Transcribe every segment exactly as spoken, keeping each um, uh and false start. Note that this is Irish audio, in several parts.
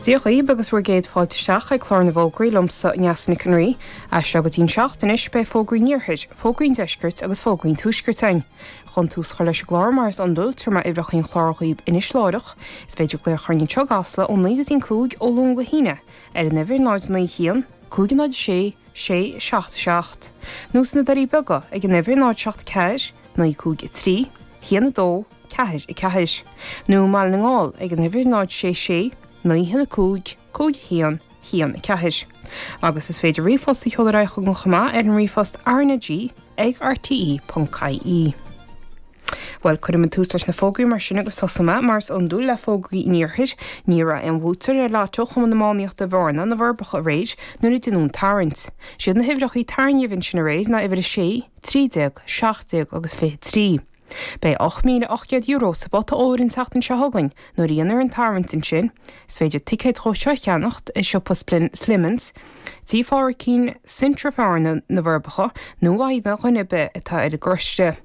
Dia dhaoibh agus bhur gcéad fáilte isteach ag clár na bhfógraí liomsa Neasa Nic an Rí. As seo go dtí'n seacht anois beidh fógraí an iarthair, fógraí an deiscirt agus fógraí an tuaiscirt againn. Chun tús a chur leis an gclár mar is iondúil tabharfaidh mé uimhreacha an chláir dhaoibh anois láithreach. Is féidir glaoch orainn anseo i gCasla ó naoi go dtí'n cúig ó Luan go hAoine ar an uimhir náid naoi haon, cúig náid sé, sé seacht seacht. Nó sna Doirí Beaga ag an uimhir náid seacht ceathair, naoi cúig a trí, haon a dó, ceathair a ceathair. Nó i mBaile na nGall ag an uimhir náid sé sé, naoi haon a cúig, cúig haon, haon a ceathair. Agus is féidir ríomhphost a sheoladh ar aghaidh chugainn chomh maith ar an ríomhphost RnaG ag rte ponc ie. Bhuel, cuirfidh mé tús leis na fógraí mar sin agus tosóidh mé, mar is iondúil, le fógraí an iarthair. Ní raibh aon bhuaiteoir ar Lotto Chumann Iománaíochta Bhearna, Na Forbacha aréir nuair a deineadh an tarraingt. Siad na huimhreacha a tarraingíodh ansin aréir ná uimhir a sé, trí déag, seacht déag agus fiche trí. Beidh ocht míle ocht gcéad euro sa bpota óir an tseachtain seo chugainn nuair a dhéanfar an tarraingt ansin. Is féidir ticéid dhó seo a cheannacht i siopa Slimmins, Tí Phádraicín, Centra Bhearna, Na Forbacha nó ó aon dhuine ar bith atá ar an gcoiste.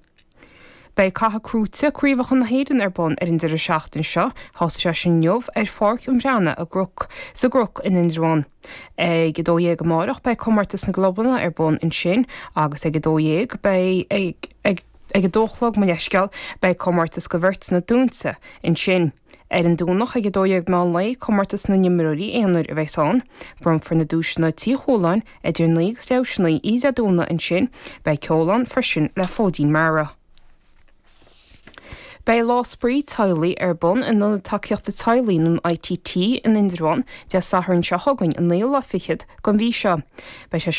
Beidh Cath Crúite, Craobhacha na hÉireann ar bun ar an deireadh seachtaine seo. Thosaigh sé sin inniu ar Pháirc an Bhreathnaigh i gCnoc, sa gCnoc in Indreabhán. Ag a dó dhéag amárach beidh comórtas na gclubanna ar bun ansin agus ag a dó dhéag beidh ag ag Ag a dó a chlog, mo leithscéal, beidh comórtas do bheirteanna dúnta ansin. Ar an Domhnach ag a dó dhéag meán lae, comórtas na n-imreoirí aonair a bheas ann. Bronnfar na duaiseanna Tí Chualáin idir naoi agus leathuair tar éis a naoi oíche Dé Domhnaigh ansin. Beidh ceol ann freisin le Fóidín Mara. Beidh Lá Spraoi Teaghlaigh ar bun in Ionad Tacaíochta Teaghlaigh nó an ITT in Indreabhán Dé Sathairn seo chugainn, an naoú lá fichead den mhí seo. Beidh sé